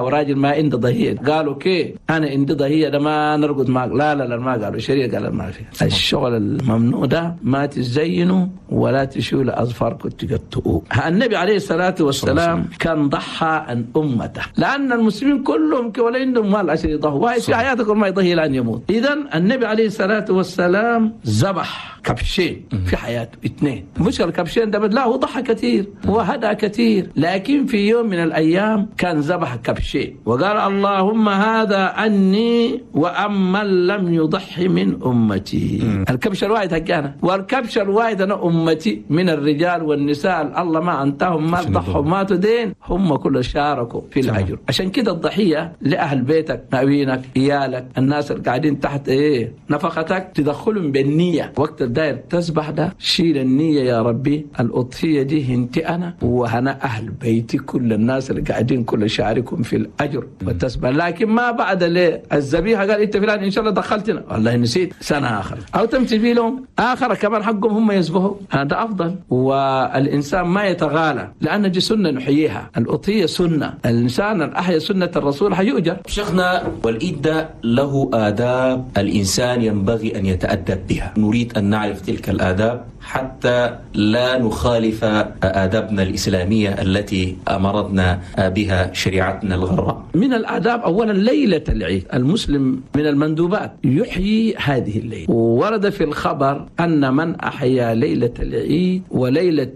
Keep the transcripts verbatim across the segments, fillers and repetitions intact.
وراجل ما عنده ضحية، قالوا كي أنا عندي ضحية ده ما نرقد معك. لا لا لا ما قالوا، الشريعة قال ما في. الشغل الممنوع ده ما تزينوا ولا تشيلوا أظفاركم تقطعوه. النبي عليه الصلاة والسلام كان ضحى عن أمته، لأن المسلمين كلهم ولا عندهم مال عشان يضحوا، واحد في حياته ما يضحي لأن يموت. إذن النبي عليه الصلاة والسلام ذبح كبشين في حياته، اثنين. مش الكبشين ده، لا هو ضحى كثير وهدى كثير، لكن في يوم من الأيام كان ذبح كبشين وقال اللهم هذا عني وأمن لم يضحي من أمتي. الكبش الواحد حقنا، والكبش الواحد أنا أمتي من الرجال والنساء الله ما أنتهم ما ضحوا ما تدين، هم كل شاركوا في الأجر. عشان كده الضحية لأهل بيتك، مأوينك، إيالك، الناس اللي قاعدين تحت إيه نفقتك، تدخلهم بالنية. وقت الداير تسبح ده شيل النية، يا ربي الأضحية دي هنتي أنا وهنا أهل بيتي، كل الناس اللي قاعدين كل شاركهم في الأجر وتسبح. لكن ما بعد ليه الذبيحة قال أنت فلان إن شاء الله دخلتنا، والله نسيت، سنة آخر أو تمتي لهم آخر كمان حقهم هم يسبحوا، هذا أفضل. والإنسان ما يتغالى، لأن دي سنة نحييها، الأضحية سنة، الإنسان الأحيا سنة الرسول حيؤجر. شيخنا، والإيد ده له آداب الإنسان ينبغي أن يتأدب بها، نريد أن نعرف تلك الآداب حتى لا نخالف آدابنا الإسلامية التي أمرتنا بها شريعتنا الغراء. من الآداب أولا ليلة العيد، المسلم من المندوبات يحيي هذه الليلة. وورد في الخبر أن من أحيا ليلة العيد وليلة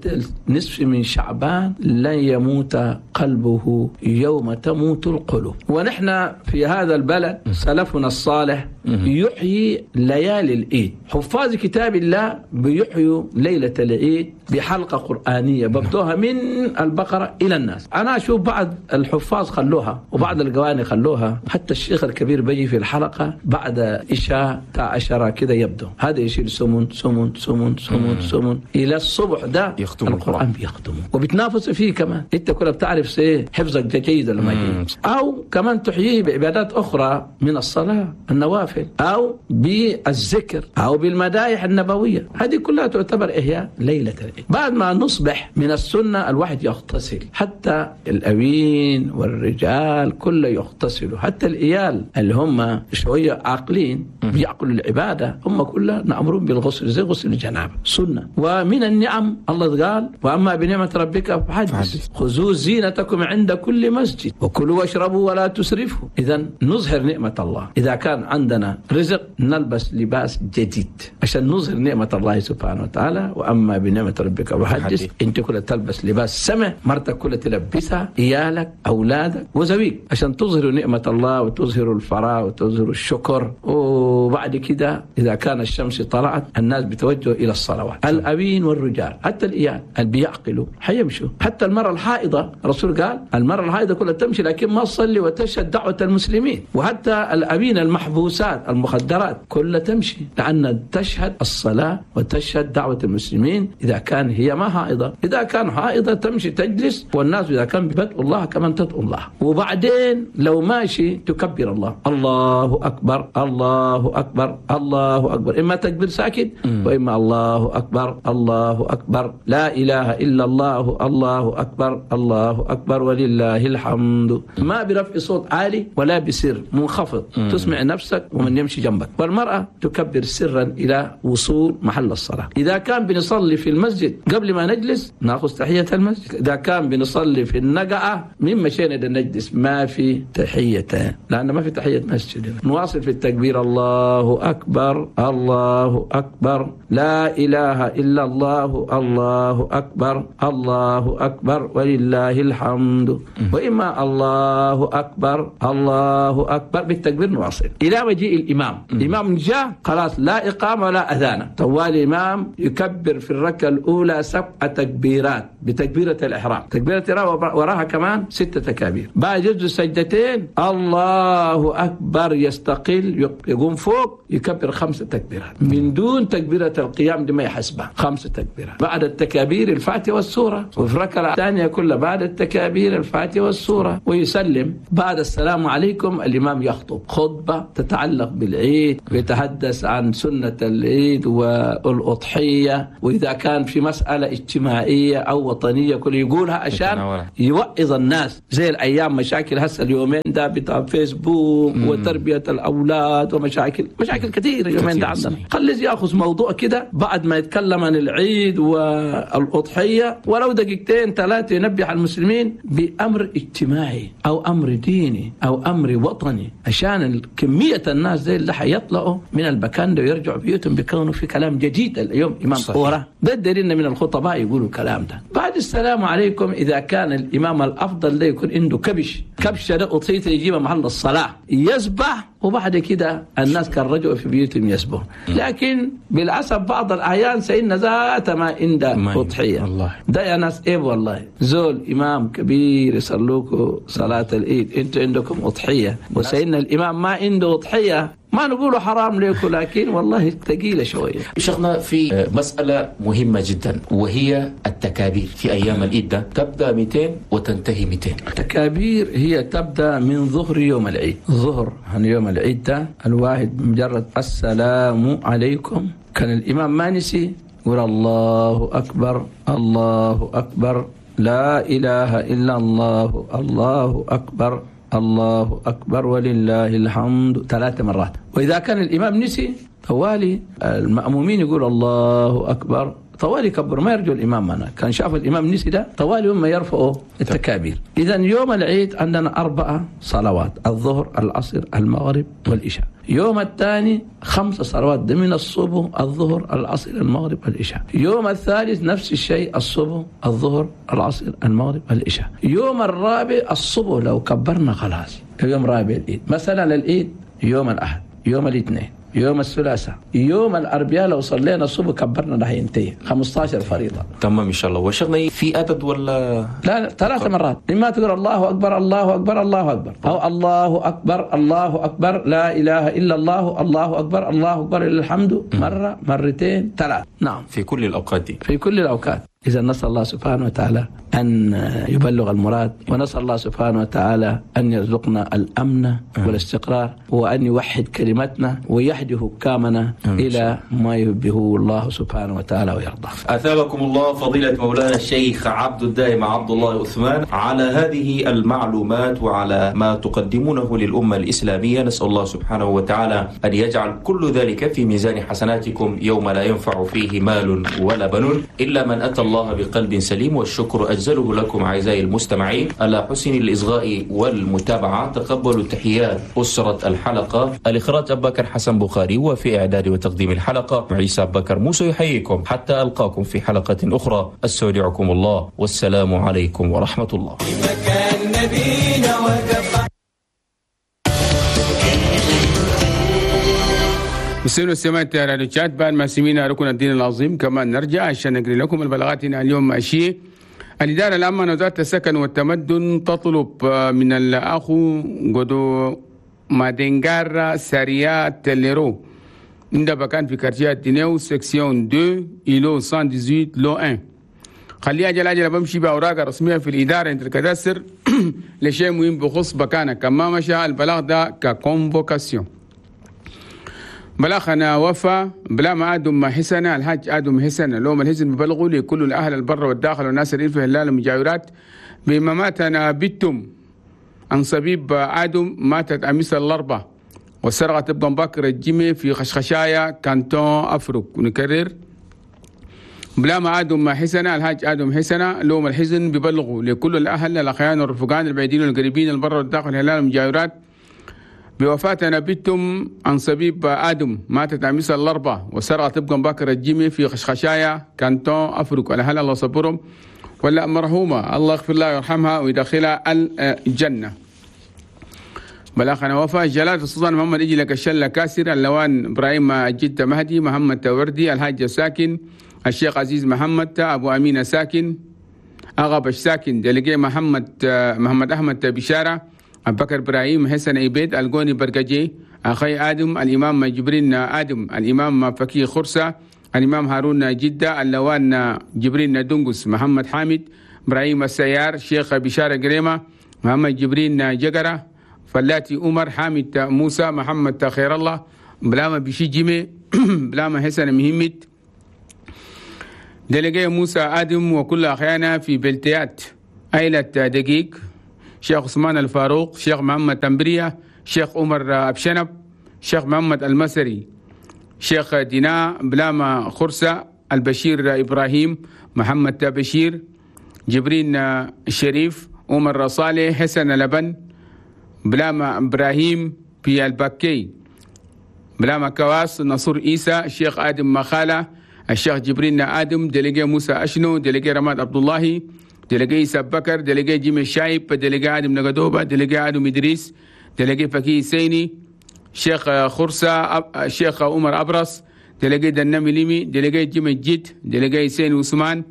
النصف من شعبان لن يموت قلبه يوم تموت القلوب. ونحن في هذا البلد سلفنا الصالح يحيي ليالي العيد، حفاظ كتاب الله بيحيوا ليلة العيد بحلقة قرآنية ببدوها من البقرة إلى الناس. أنا أشوف بعض الحفاظ خلوها وبعض القواني خلوها، حتى الشيخ الكبير بيجي في الحلقة بعد إشاء عشرة كده يبدو هذا يشيل سمن سمن سمن سمن سمن إلى الصبح، ده القرآن بيختمه وبتنافس فيه كمان. أنت كلها بتعرف سي حفظك جيد ولا ما جيد. أو كمان تحييه بعبادات أخرى من الصلاة النوافل أو بالذكر أو بالمدايح النبوية، هذه كلها تعتبر إحياء ليلة العيد. بعد ما نصبح من السنة الواحد يغتسل، حتى الأوين والرجال كله يغتسلوا، حتى الإيال اللي هم شوية عاقلين بيعقلوا العبادة هم كلها نأمرون بالغسل زي غسل الجنابة سنة. ومن النعم الله قال وأما بنعمة ربك فحدث، خذوا زينتكم عند كل مسجد وكلوا واشربوا ولا تسرفوا. إذا نظهر نعمة الله، إذا كان عندنا رزق نلبس لباس جديد عشان نظهر نعمة الله سبحانه وتعالى. وأما بنعمة ربك فحدث، أنت كلها تلبس لباس سمع، مرتك كلها تلبسها، إيالك أولادك وزويك، عشان تظهروا نعمة الله وتظهروا الفراغ وتظهروا الشكر. وبعد كده إذا كان الشمس طلعت الناس بتوجهوا إلى الصلوات، الأبين والرجال حتى الإيال اللي بيعقلوا حيمشوا، حتى المرأة الحائضة الرسول قال المرأة الحائضة كلها تمشي لكن ما تصلي وتشهد دعوة المسلمين. وحتى الأبين المحبوسات المخدرات كلها تمشي لأن تشهد الصلاة وتشهد دعوة المسلمين إذا كان هي ما حائضة. إذا كان حائضة تمشي تجلس، والناس إذا كان بدء الله كمان تدعو الله. وبعدين لو ماشي تكبر الله، الله أكبر الله أكبر الله أكبر، إما تكبير ساكت وإما الله أكبر الله أكبر لا إله إلا الله الله أكبر الله أكبر ولله الحمد، ما برفع صوت عالي ولا بسر منخفض، تسمع نفسك ومن يمشي جنبك. والمرأة تكبر سرا إلى وصول محل الصلاة. إذا كان بنصلي في المسجد قبل ما نجلس نأخذ تحية المسجد، إذا كان بنصلي في النقعة من مشينا إلى نجلس ما في تحية، لأن ما في تحية مسجد. نواصل في التكبير الله أكبر الله أكبر لا إله إلا الله الله أكبر الله أكبر ولله الحمد، وإما الله أكبر الله أكبر بالتكبير نواصل إلى مجيء الإمام. الإمام جاء خلاص لا إقامة ولا أذان، طوال الإمام يكبر في الركعة الأولى سبع تكبيرات بتكبيرة الإحرام، تكبيرة الإحرام وراها كمان ستة تكابير. بعد يسجد سجدتين الله أكبر يستقل يقوم فوق يكبر خمسة تكبيرات من دون تكبيرة القيام دي ما يحسبها، خمسة تكبيرات. بعد التكابير الفاتحة والسورة، وفي الركعة الثانية كلها بعد التكابير الفاتحة والسورة ويسلم. بعد السلام عليكم الإمام يخطب خطبة تتعلق بالعيد، ويتحدث عن سنة العيد والأضحية، وإذا كان في مسألة اجتماعية أو وطنية كل يقولها عشان يوعظ الناس. زي الأيام مشاكل هسه اليومين ده بتاع فيسبوك مم. وتربية الأولاد ومشاكل مشاكل كثيرة اليومين ده عندنا. خليه يأخذ موضوع كده بعد ما يتكلم عن العيد والأضحية ولو دقيقتين ثلاثة ينبه على المسلمين بأمر اجتماعي أو أمر ديني أو أمر وطني، عشان كمية الناس زي اللي حيطلعوا من المكان ده ويرجعوا بيوتهم بيكونوا في كلام جديد. اليوم إمام أورا ده الدليل من الخطباء يقولوا الكلام ده. بعد السلام عليكم، إذا كان الإمام الأفضل ده يكون عنده كبش، كبشة ده أضحيته يجيبها محل الصلاة يذبح، وبعد كده الناس كان رجعوا في بيوتهم يسبحوا. لكن بالعسف بعض الأحيان سيدنا ذات ما عنده أضحية. ده يا ناس إيه والله، زول إمام كبير يصلوكوا صلاة العيد، أنتوا عندكم أضحية وسيدنا الإمام ما عنده أضحية، ما نقوله حرام لكم لكن والله ثقيلة شوية. شيخنا في مسألة مهمة جدا وهي التكابير في أيام العيد ده، تبدأ مئتين وتنتهي مئتين. التكابير هي تبدأ من ظهر يوم العيد. ظهر عن يوم العيد ده الواحد مجرد السلام عليكم، كان الإمام ما نسي يقول الله أكبر الله أكبر لا إله إلا الله الله أكبر الله أكبر ولله الحمد ثلاث مرات. وإذا كان الإمام نسي طوالي المأمومين يقول الله أكبر طوالي كبر، ما يرجو الإمام. أنا كان شاف الإمام نسي ده طوالي هم يرفعوا التكابير. إذا يوم العيد عندنا أربعة صلوات، الظهر العصر المغرب والعشاء. يوم الثاني خمس صلوات من الصبح الظهر العصر المغرب والعشاء. يوم الثالث نفس الشيء، الصبح الظهر العصر المغرب والعشاء. يوم الرابع الصبح لو كبرنا خلاص يوم رابع العيد. مثلا العيد يوم الأحد، يوم الاثنين، يوم الثلاثاء، يوم الأربعاء لو صلينا الصبح كبرنا راح ينتهي خمسة عشر فريضة. تمام إن شاء الله. وشغلنا في عدد ولا لا؟ ثلاث مرات، إما تقول الله أكبر الله أكبر الله أكبر، أو الله أكبر الله أكبر لا إله إلا الله الله أكبر الله أكبر لله الحمد، مرة مرتين ثلاث. نعم في كل الأوقات دي، في كل الأوقات. إذا نسأل الله سبحانه وتعالى أن يبلغ المراد، ونسأل الله سبحانه وتعالى أن يرزقنا الأمن والاستقرار، وأن يوحد كلمتنا ويهدي حكامنا إلى ما يحبه الله سبحانه وتعالى ويرضى. أثابكم الله فضيلة مولانا الشيخ عبد الدائم عبد الله عثمان على هذه المعلومات وعلى ما تقدمونه للأمة الإسلامية. نسأل الله سبحانه وتعالى أن يجعل كل ذلك في ميزان حسناتكم يوم لا ينفع فيه مال ولا بنون إلا من أتى الله بقلب سليم. والشكر أجزله لكم أعزائي المستمعين على حسن الإصغاء والمتابعة. تقبلوا تحيات أسرة الحلقة، الإخراج أبو بكر حسن بخاري، وفي إعداد وتقديم الحلقة عيسى أبو بكر موسى. يحييكم حتى ألقاكم في حلقة أخرى. أستودعكم الله والسلام عليكم ورحمة الله. مسلمين والسماء راديو تشاد، بعد ما سمينا ركن الدين العظيم كمان نرجع عشان نقري لكم البلاغات هنا اليوم. ماشي، الإدارة العامة لوزارة السكن والتمدن تطلب من الأخو قدو مادنجارا ساريا تليرو عند بكان في quartier دينيو section اثنين îlot مية وثمانية عشر lot واحد. خليها أجل أجل بمشي بأوراق رسمية في الإدارة عند ال cadastre لشيء مهم بخص بكانك. كما مشى البلاغ ده ك convocation. بلاغنا وفا بلا ما آدم حسنة الحاج آدم حسنة لوم الحسن ببلغوا لكل الأهل البر والداخل والناس اللي في هلال المجاورات بما ماتنا بيتم عن صبيب آدم ماتت أمس الأربعة والسرقة تبقى بكر الجيمي في خشخشايا كانتون أفرق. ونكرر بلا ما آدم حسنة الحاج آدم حسنة لوم الحزن ببلغوا لكل الأهل الأخيان والرفقان البعيدين والقريبين البر والداخل هلال المجاورات بوفاة بنتم عن صبيب آدم ماتت أمس الأربعة والسرقة تبقى بكر الجيمي في خشخشايا كانتون أفرق. الأهل الله صبرهم ولا مرحومة الله يغفر لها ويرحمها ويدخلها الجنة. بلاغنا وفاة جلالة السلطان محمد إجي لك الشلة كاسر اللوان إبراهيم الجدة مهدي محمد توردي الحاج ساكن الشيخ عزيز محمد أبو أمينة ساكن أغبش ساكن دلقي محمد محمد أحمد بشارة أبو بكر إبراهيم حسن عبيد القوني برقجي أخي آدم الإمام جبرين آدم الإمام فكي خرسة الإمام هارون جدة اللوان جبرين دنقس محمد حامد إبراهيم السيار شيخ بشارة قريمة محمد جبرين جقرة فلاتي عمر حامد موسى محمد خير الله بلاما بشي جيمي بلاما حسن مهمت délégué موسى آدم وكل أخيانا في بلتيات، عائلة دقيق، شيخ عثمان الفاروق، شيخ محمد تنبرية، شيخ عمر أبشنب، شيخ محمد المسري، شيخ دينا بلاما خرسة، البشير إبراهيم، محمد بشير، جبرين الشريف، عمر صالح، حسن لبن، بلاما إبراهيم في البكي، بلاما كواس، نصر إيسى، الشيخ آدم مخالة، الشيخ جبرين آدم، délégué موسى أشنو، délégué رماد عبد الله، délégué إيسى بكر، délégué جيمي الشايب، délégué آدم نقدوبة، délégué آدم إدريس، délégué فكي سيني، شيخ خرسة، الشيخ عمر أبرص، délégué دنمي ليمي، délégué جيمي الجد، délégué سيني عثمان،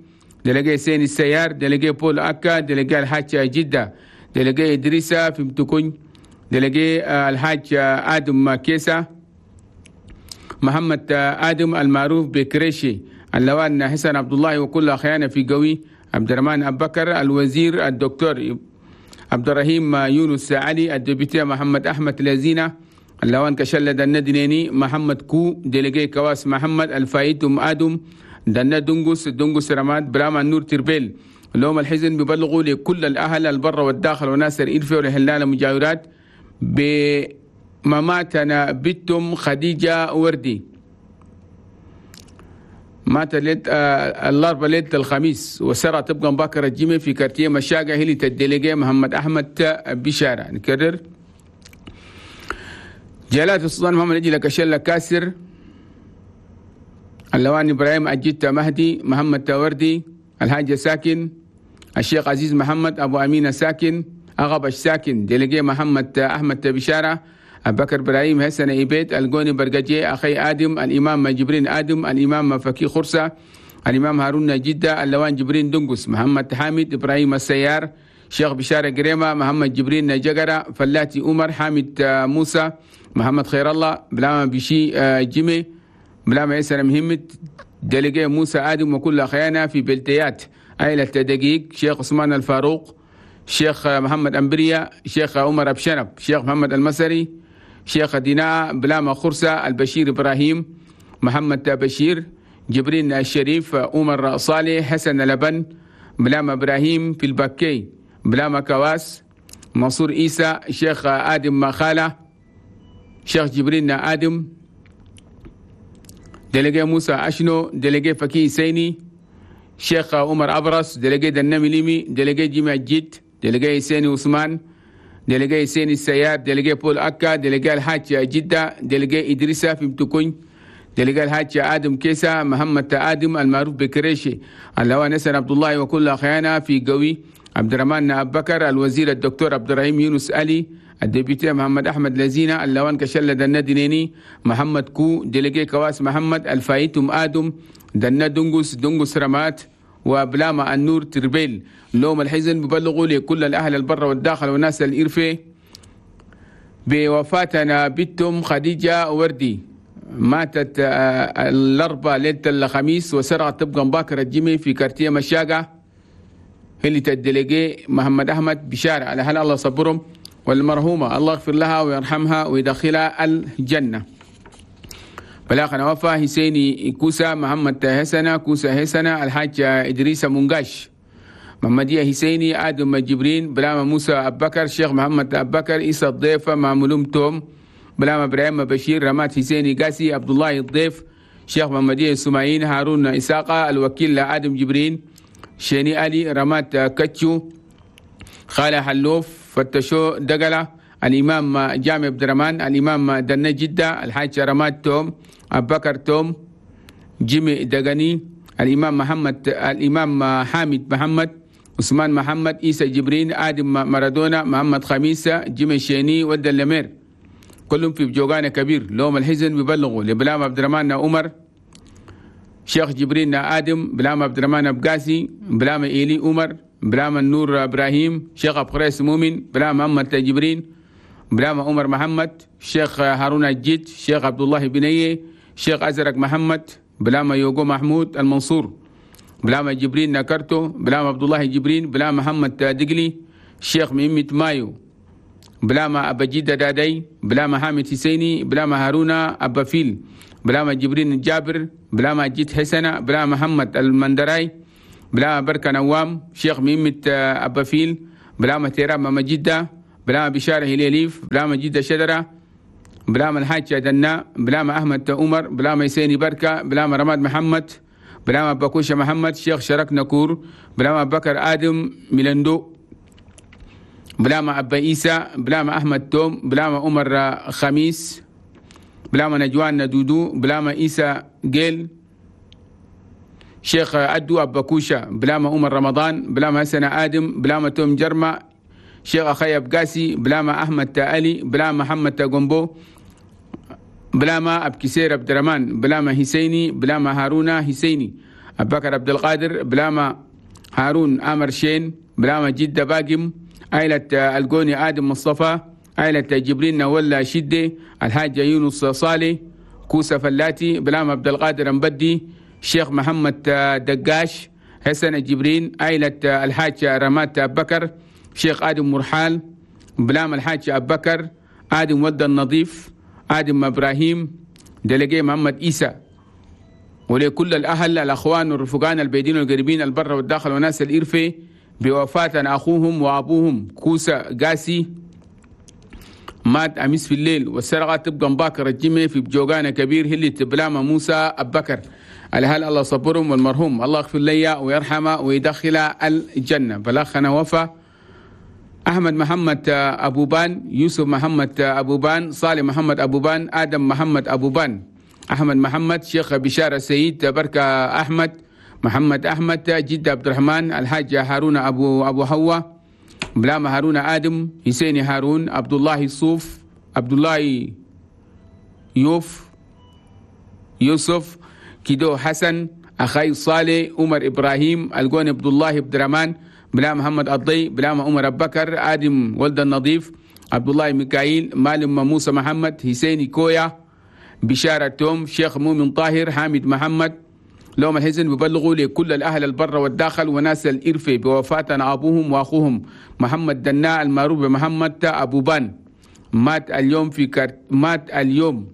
délégué سيني السيار، délégué بول أكا، délégué الحاج جدة، délégué إدريسة في متكون، délégué الحاج آدم كيسة، محمد آدم المعروف بكريشي، اللوان حسن عبد الله وكل أخيانا في قوي، عبد الرحمن أبو بكر، الوزير الدكتور عبد الرحيم يونس علي، ال député محمد أحمد لزينة، اللوان كشلد الندنيني، محمد كو، délégué كواس محمد، الفايت أم آدم، دنا دنقس، دنقس رماد، براما النور تربيل. لوم الحزن ببلغوا لكل الأهل البر والداخل وناصر إلفي والهلال المجاورات بمماتنا بنتم خديجة وردي، مات ليلة الأربعاء ليلة الخميس وسرى تبقى مبكرة الجيمة في quartier مشاقة هلي ال délégué محمد أحمد بشارة. نكرر جلالة السلطان محمد أجل كشلة كاسر، اللوان إبراهيم أجيت مهدي، محمد تاوردي، الحاج ساكن، الشيخ عزيز محمد أبو أمينة ساكن، أغبش ساكن، délégué محمد أحمد بشارة، أبو بكر إبراهيم حسن إيبيت، الجوني برقجي، أخي آدم، الإمام جبرين آدم، الإمام فكي خرسة، الإمام هارون جدة، اللوان جبرين دنقس، محمد حامد إبراهيم السيار، شيخ بشارة قريمة، محمد جبرين جقرة، فلاتي عمر، حامد موسى، محمد خير الله، بلاما بشي جيمي، بلاما يسر مهمة، délégué موسى آدم وكل أخيانا في بلتيات، عائلة دقيق، شيخ عثمان الفاروق، شيخ محمد أمبريا، شيخ عمر أبشنب، شيخ محمد المسري، شيخ ديناء، بلاما خرسة، البشير إبراهيم، محمد بشير، جبرين الشريف، عمر صالح، حسن لبن، بلاما إبراهيم في البكي، بلاما كواس، منصور إيسى، شيخ آدم مخالة، شيخ جبرين آدم، délégué موسى أشنو، délégué فكي سيني، شيخ عمر أبرص، délégué دنمي ليمي، délégué جيمي الجد، délégué سيني عثمان، délégué سيني السيار، délégué بول أكا، délégué الحاج جدة، délégué إدريسة في متكون، délégué الحاج آدم كيسة، محمد آدم المعروف بكريشي، اللواء نسر عبد الله وكل أخيانا في قوي، عبد الرحمن أبو بكر، الوزير الدكتور عبد الرحيم يونس علي، ال député محمد أحمد لزينة، اللوان كشلد الندنيني، محمد كو، délégué كواس محمد، الفايتم آدم، دنا دنقس، دنقس رمات، وبلاما النور تربيل. لوم الحزن ببلغوا لكل الأهل البر والداخل والناس الإرفي بوفاتنا بنتم خديجة وردي، ماتت الأربعاء ليلة الخميس وسرعة تبقى مباكرة الجيمي في quartier مشاقة اللي ال délégué محمد أحمد بشارة. على هل الله صبرهم، والمرحومة الله يغفر لها ويرحمها ويدخلها الجنة. بلاغنا وفا حسيني كوسا، محمد حسنة كوسا حسنة، الحاج إدريس منقاش، محمدية حسيني، آدم جبرين، بلاما موسى أبو بكر، شيخ محمد أبو بكر، إيسى الضيف، معمولوم توم، بلاما إبراهيم بشير، رمات حسيني قاسي، عبد الله الضيف، شيخ محمدية سماعين، هارون إساقة، الوكيل آدم جبرين، شيني علي، رمات كتشو، خالة حلوف، فتشو دقلة، الإمام جامع عبد الرحمن، الإمام دنا جدة، الحاج رماد توم، أبو بكر توم، جيمي دقني، الإمام محمد، الإمام حامد محمد، عثمان محمد، إيسى جبرين، آدم مارادونا، محمد خميسة، جيمي شيني، ود اللمير، كلهم في بجوغانة كبير. لوم الحزن ببلغوا لبلام عبد الرحمن عمر، شيخ جبرين آدم، بلام عبد الرحمن أبقاسي، بلام إيلي عمر، بلام النور إبراهيم، شيخ أبو خريس مؤمن، بلام محمد جبرين، بلام عمر محمد، شيخ هارون الجد، شيخ عبد الله بنيه، شيخ أزرق محمد، بلام يوغو محمود المنصور، بلام جبرين نكرتو، بلام عبد الله جبرين، بلام محمد دقلي، شيخ ميمة مايو، بلام أبا جدة دادي، بلام حامد حسيني، بلام هارون أبا فيل، بلاما جبرين الجابر، بلاما جيت حسنة، بلاما محمد المندراي، بلاما بركة نوام، شيخ ميمة أبافيل، بلاما تيرام ماما جدة، بلاما بشارة هليليف، بلاما جدة شجرة، بلاما الحاج دنا، بلاما أحمد عمر، بلاما يسيني بركة، بلاما رماد محمد، بلاما بكوشة محمد، شيخ شرك نكور، بلاما بكر آدم ميلندو، بلاما أبا إيسى، بلاما أحمد توم، بلاما عمر خميس، بلاما نجوان ندودو، بلاما إيسى جيل، شيخ أدو أبا كوشة، بلاما عمر رمضان، بلاما حسن آدم، بلاما توم جرمة، شيخ أخي أبقاسي، بلاما أحمد تألي، بلاما محمد تاغومبو، بلاما أبكسير عبد الرحمن، بلاما حسيني، بلاما هارونا حسيني، أبو بكر عبد القادر، بلاما هارون أمر شين، بلاما جدة باقم، عائلة الجوني آدم مصطفى، عائلة جبرين نولا شدة، الحاج يونس صالح، كوسة فلاتي، بلاما عبد القادر مبدي، شيخ محمد دقاش، حسن جبرين، عائلة الحاج رمات بكر، شيخ آدم مرحال، بلام الحاج أبو بكر، آدم ود النظيف، آدم إبراهيم، دلقي محمد إيسى. ولكل الأهل الأخوان والرفقان البيدين والقريبين البر والداخل وناس الإرفة بوفاة أخوهم وأبوهم كوسة قاسي، مات أمس في الليل، والسرقة تبقى مباكر الجمع في بجوغانا كبير هلي بلامة موسى أبو بكر. الهل الله صبرهم والمرحوم الله يغفر لي ويرحمه ويدخل الجنة. بلغنا وفا أحمد محمد أبو بان، يوسف محمد أبو بان، صالح محمد أبو بان، آدم محمد أبو بان، أحمد محمد، شيخ بشارة سيد، بركة أحمد، محمد أحمد، جد عبد الرحمن، الحاج هارون أبو أبو حوا، بلام هارون آدم، حسين هارون، عبد الله صوف، عبد الله يوف، يوسف كيدو حسن، أخي صالح، عمر إبراهيم، الجون عبد الله عبد الرحمن، بلا محمد الضي، بلا عمر أبو بكر، آدم ولد النظيف، عبد الله ميكائيل، مالم موسى محمد، حسين كويا، بشارة توم، شيخ مؤمن طاهر، حامد محمد. لهم الحزن ببلغوا لكل الأهل البر والداخل وناس الإرفة بوفاة أبوهم وأخوهم محمد دناء المعروف بمحمد أبو بان، مات اليوم في كارت مات اليوم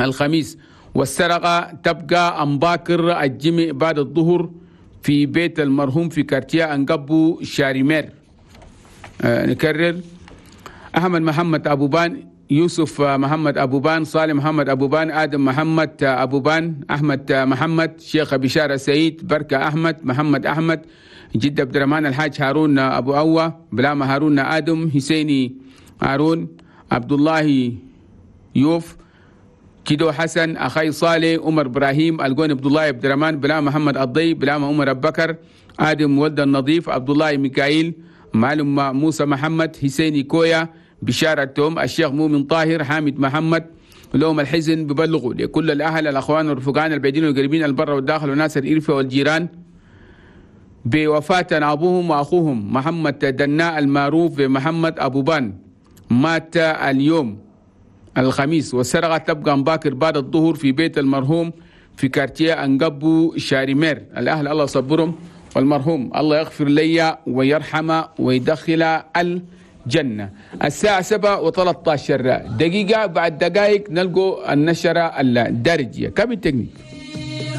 الخميس، والسرقة تبقى أمباكر الجمع بعد الظهر في بيت المرحوم في كارتيا أنقبو شاريمير. آه نكرر: أحمد محمد أبو بان، يوسف محمد أبو بان، صالح محمد أبو بان، آدم محمد أبو بان، أحمد محمد، شيخ بشارة سعيد، بركة أحمد، محمد أحمد، جد عبد الرحمن، الحاج هارون أبو أوة، بلامة هارون آدم، حسيني هارون، عبد الله يوف، كيدو حسن، أخي صالح، عمر إبراهيم، الجون عبد الله عبد الرحمن، بلا محمد الضي، بلا عمر أبو بكر، آدم ولد النظيف، عبد الله ميكائيل، معلم موسى محمد، حسيني كويا، بشارة توم، الشيخ مؤمن طاهر، حامد محمد. لهم الحزن ببلغوا لكل الأهل الأخوان والرفقان البعيدين والقريبين البر والداخل وناس الإرفة والجيران بوفاة أبوهم وأخوهم محمد دناء المعروف بمحمد أبو بان، مات اليوم الخميس، والسرقة تبقى مباكر بعد الظهر في بيت المرحوم في كارتيا أنقبو شاريمير. الأهل الله صبرهم والمرحوم الله يغفر لي ويرحمه ويدخل الجنة. الساعة سبعة وثلاثة عشر دقيقة، بعد دقائق نلقوا النشرة الدارجية. كم التكنيك؟